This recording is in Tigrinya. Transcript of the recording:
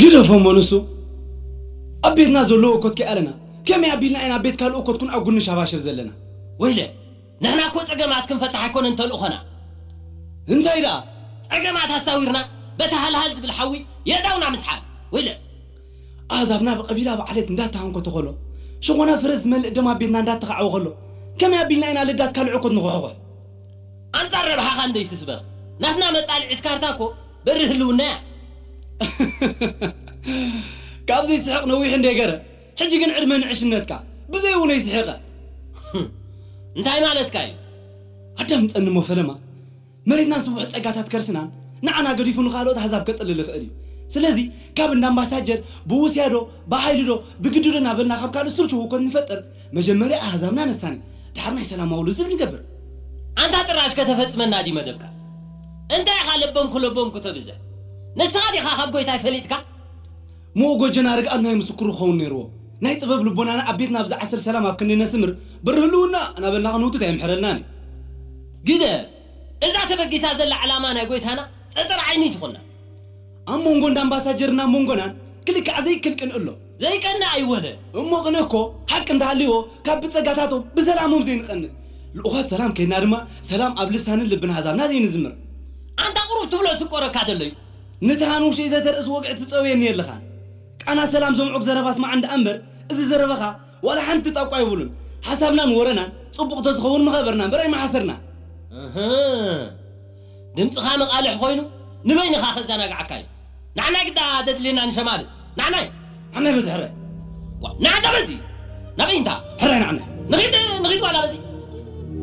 ግደፎ እሞ ንሱ ኣብ ቤትና ዘሎ እኮት ከይኣለና ከመይ ኣቢልና ኢና ቤት ካልእ እኮት ኩን ኣብ ጉኒ ሻባሸብ ዘለና? ወይለ፣ ንሕና እኮ ጸገማት ክንፈታሕ ኣይኮነን ተልእኾና። እንታይ ደኣ? ጸገማት ኣሳዊርና በቲ ሃልሃል ዝብል ሓዊ የእዳውና ምስሓል። ወይለ፣ ኣህዛብና ብቐቢላ ብዓሌት እንዳተሃንኮ ተኸሎ፣ ሽኾና ፍረስ ዝመልእ ደም ኣብ ቤትና እንዳተኻዕወ ከሎ፣ ከመይ ኣቢልና ኢና ልዳት ካልእ እኮት ንኹሕኹሕ? ኣንጻር ረብሓኻ እንደይትስበኽ። ናትና መጣልዒት ካርታ እኮ በሪ ህልውና እያ። ካብዚ ይስሕቕ ነዊሕ እንደ ገረ፣ ሕጂ ግን ዕድመ ንዕሽነትካ ብዘይ እውን ይስሕቐ። እንታይ ማለትካ እዩ? ኣዳምጸኒ እሞ ፈለማ፣ መሬትናን ስቡሕ ጸጋታት ከርስናን ንዓና ገዲፉ ንኻልኦት ኣህዛብ ከጥልል ይኽእል እዩ። ስለዚ ካብ እንዳ ኣምባሳጀር ብውስያዶ ብሓይልዶ ብግድዶ እናበልና ካብ ካልእ ስርቹ ህውከት ንፈጥር፣ መጀመርያ ኣህዛብና ነሳኒ፣ ድሓር ናይ ሰላማዊ ልዝብ ንገብር። ኣንታ ጥራሽ ከተፈጽመና ድዩ መደብካ? እንታይ ኢኻ ለበምኩ ለበምኩ ተብዝሕ? ንስኻ ዲኻ ካብ ጎይታይ ፈሊጥካ? ምኡ ጎጀና ርግኣት ናይ ምስክሩ ክኸውን ነይርዎ። ናይ ጥበብ ልቦናና ኣብ ቤትና ብዝዓስር ሰላም ኣብ ክንዲ ነስምር፣ በሪ ህልውና እናበልና ክንውትት ኣይምሕረልናን እዩ። ግደ፣ እዛ ተበጊሳ ዘላ ዕላማ ናይ ጎይታና ጸጸር ዓይኒ ትኾና። ኣብ መንጎ እንዳ ኣምባሳጀርና መንጎናን ክልካዕ ዘይክል ቅንእ ኣሎ። ዘይቀንእ ኣይወለ። እሞ ቅንእ እኮ ሓቂ እንተሃልይዎ ካብ ብጸጋታቶም ብሰላሞም ዘይንቐንእ። ልኡኻት ሰላም ከይድና ድማ ሰላም ኣብ ልሳንን ልብን ኣህዛብና ዘይንዝምር። ኣንታ ቁሩብ ትብሎ ስቆረካ ዘሎ እዩ። ነቲ ሃንውሽይ ዘተርእስ ወግዒ ትጸውየኒ የለኻ። ቃና ሰላም ዘምዑግ ዘረባ ስማዕ እንዳ እምበር፣ እዚ ዘረባኻ ዋላ ሓንቲ ጣቋ የብሉን። ሓሳብናን ወረናን ጽቡቕ ተዝኸውን ምኸበርና እምበር ኣይመሓሰርና። እህ፣ ድምጽኻ መቓልሕ ኮይኑ ንበይንኻ ከዘናግዓካ እዩ። ንዓናይ ግዳ ደድልየና ንሸማልት። ንዓናይ። ንዓናይ በዚ ሕረ። ዋው፣ ንዓንታ በዚ። ናበይ እንታ? ሕራይ ንዓናይ። ንኺድ፣ ንኺድ ዋላ በዚ።